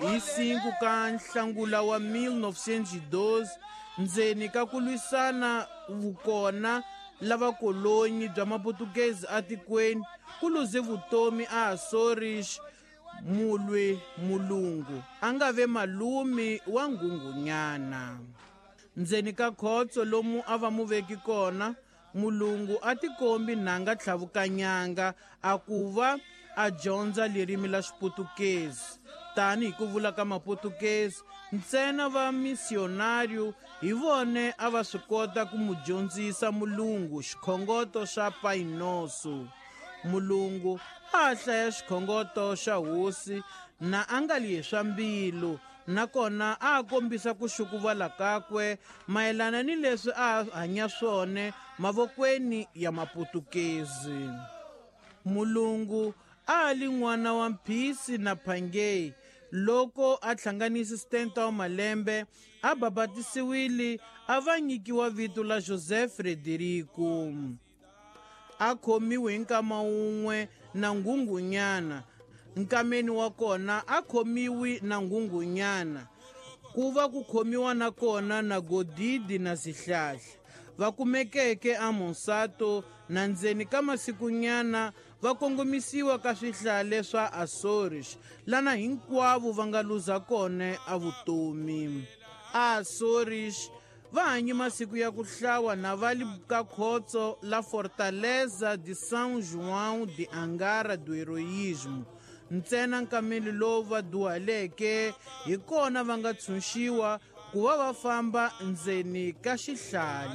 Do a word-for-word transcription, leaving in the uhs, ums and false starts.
Hi cinco ka Nhlangula wa mil novecentos e doze, ndzeni ka ku lwisana vukona la vakolonyi bya Maputukezi atikweni, ku luze vutomi a Açores mulwi mulungu a nga ve malume wa Nghunghunyana. Ndzeni ka khotso lomu a va mu veki kona, mulungu a tikombi nanga tlhavukanyanga a ku va a dyondza ririmi la Xiputukezi. Tani hi ku vula ka Maputukezi, ntsena va missionário hi vone a va swi kota ku mu dyondzisa mulungu xikhongoto xa Pai Nosso. Mulungu a hlaya xikhongoto xa hosi na a nga li swa mbilu, nakona a kombisa ku xukuvala kakwe mayelana ni leswi a hanya swona mavokweni ya Maputukezi. Mulungu a li n'wana wa Mphisi na Phangei loko a hlanganisa setenta wa malembe a babatisiwile a va nyikiwa vito la José Frederico. A khomiwe hi nkama wun'we na Nghunghunyana, nkameni wa kona a khomiwi na Nghunghunyana, ku va ku khomiwa na kona na Godidi na Sihlahla va kumekeke a Monsanto na ndzeni ka masikunyana va kongomisiwa ka swihlale swa Açores, lana hinkwavo va nga luza kona a vutomi. Açores va hanye masiku ya ku hlawa na va li ka khotso la Fortaleza de São João de Angara do Heroísmo. Ntsena nkameli lowu va duhaleke hi kona va nga tshunxiwa ku va va famba ndzeni ka xihlale.